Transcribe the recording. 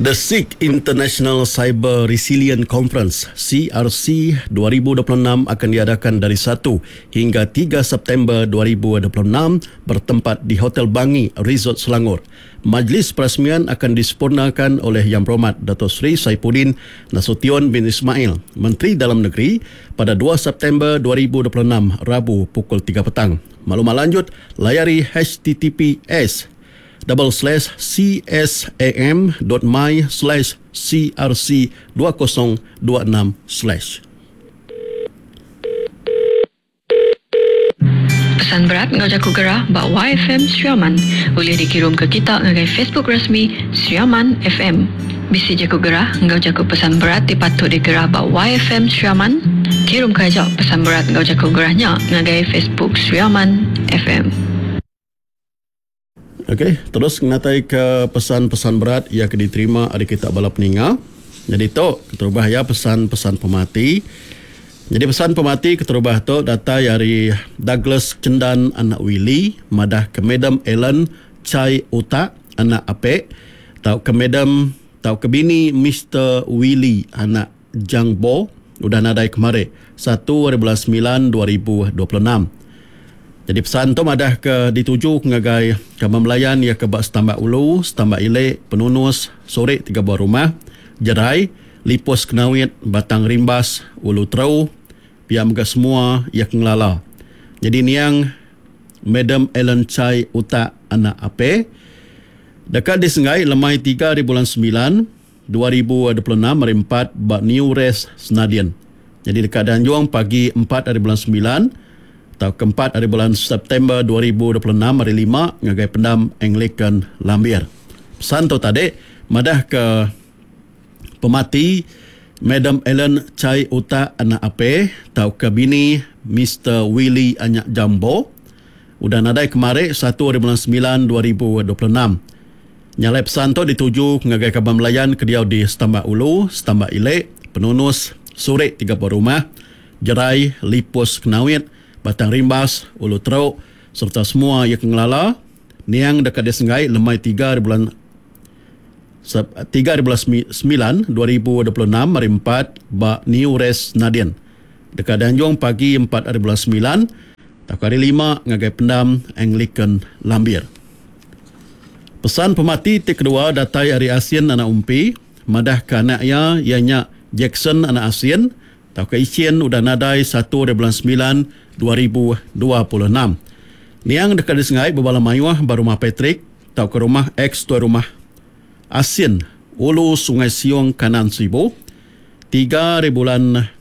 The Sikh International Cyber Resilience Conference, CRC, 2026 akan diadakan dari satu hingga tiga September 2026 bertempat di Hotel Bangi, Resort Selangor. Majlis perasmian akan disempurnakan oleh Yang Berhormat Dato Seri Saifuddin Nasution bin Ismail, Menteri Dalam Negeri pada dua September 2026, Rabu pukul tiga petang. Maklumat lanjut, layari https double slash csam dot my slash crc 2026 slash. Pesan berat enggau jaku gerah ba YFM Sri Aman ulih dikirumka kita ngagai Facebook rasmi Sri Aman FM. Bisi jaku gerah enggau jaku pesan berat ti patut digerah ba YFM Sri Aman? Kirumka aja pesan berat enggau jaku gerah nya ngagai Facebook Sri Aman FM. Ok, terus ngenatai ke pesan-pesan berat iya ke diterima ari kita bala peninga. Nyadi tu keterubah iya pesan-pesan pemati. Nyadi pesan pemati keterubah tu datai ari Douglas Chendan anak Willie madah ke Madam Ellen Chai Utak anak Apek tauka Madam tauka bini Mister Willie anak Jang Bo udah nadai kemari satu ari bulan semilan 2026. Nyadi pesan tu madah ke dituju ke ngagai kaban belayan iya ke ba Setambak Ulu, Setambak Ili, Penunus, Surik tiga buah rumah, Jerai, Lipus Kenawit, Batang Rimbas, Ulu Teru, pia mega semua iya ke ngelala. Nyadi niang Madam Ellen Chai Utak anak Ape deka disenggai lemai tiga ari bulan semilan, 2026 hari empat ba New Res Senadin. Nyadi deka dianjung pagi empat hari bulan semilan tauka empat hari bulan September 2026 hari lima ngagai Pendam Anglican Lambir. Pesan tu tadi madahka pemati Madam Ellen Chai Utak anak Ape tauka bini Mister Willie Anyak Jambo udah nadai kemari satu hari bulan semilan 2026. Nya alai pesan tu dituju ngagai kaban belayan ke diau di Setambak Ulu, Setambak Ili, Penunus, Surik 30 Rumah, Jerai, Lipus Kenawit, Batang Rimbas, Ulu Teruk sereta semua iya ke ngelala niang deka disenggai lemai tiga hari bulan tiga hari bulan semilan 2026 hari empat ba New Res Nadin. Deka dianjung pagi empat hari bulan semilan tauka hari lima ngagai Pendam Anglican Lambir. Pesan pemati ti kedua datai ari Asin anak Umpi madahka anak iya iya nya Jackson anak Asin tauka Ichin udah nadai satu ari bulan semilan 2026. Niang deka disengai bebala mayuh ba Rumah Patrick tauka rumah ex tuai rumah Asin Ulu Sungai Siong Kanan Sibu tiga ari bulan.